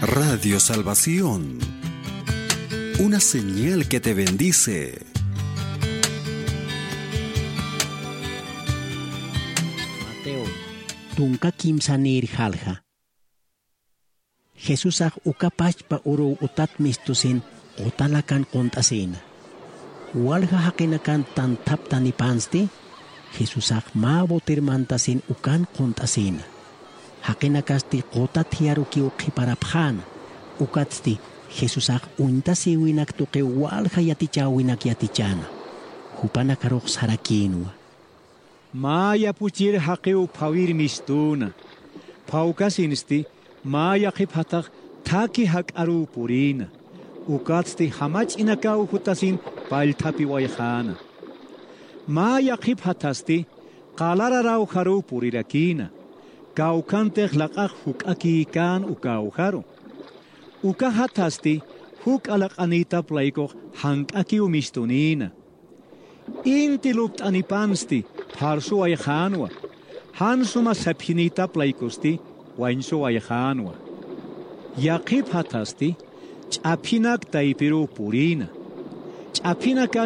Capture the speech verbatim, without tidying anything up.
Radio Salvación, una señal que te bendice. Mateo. Tunka kimsanïr jalja. Jesusax uka pachpa uruw utat mistusin qutalakan qunt'asïna. Walja jaqinakan tanthaptanipansti, Jesusax mä boter mantasin ukan qunt'asïna. Jaqinakasti quta thiyarukiw qhiparapxäna, ukatsti Jesusax uñtasïwinak tuqiw walja yatichäwinak yatichäna. Jupanakarux sarakïnwa. Mä yapuchir jaqiw phawir mistüna. Phawkasinsti mä yaqhip jathax thakhi jak'aruw purïna. Ukatsti jamach'inakaw jutasin pallthapiwayxäna. Mä yaqhip jathasti qalarar awjaruw purirakïna. Kawkhantix laq'ax juk'akïkän uka awjaru. Uka jathasti juk'a laq'anïtap laykux jank'akiw mistunïna. Inti lupt'anipansti pharsuwayxänwa, jan suma saphinïtap laykusti wañsuwayxänwa. Yaqhip jathasti ch'aphinak taypiruw purïna. Ch'aphinakas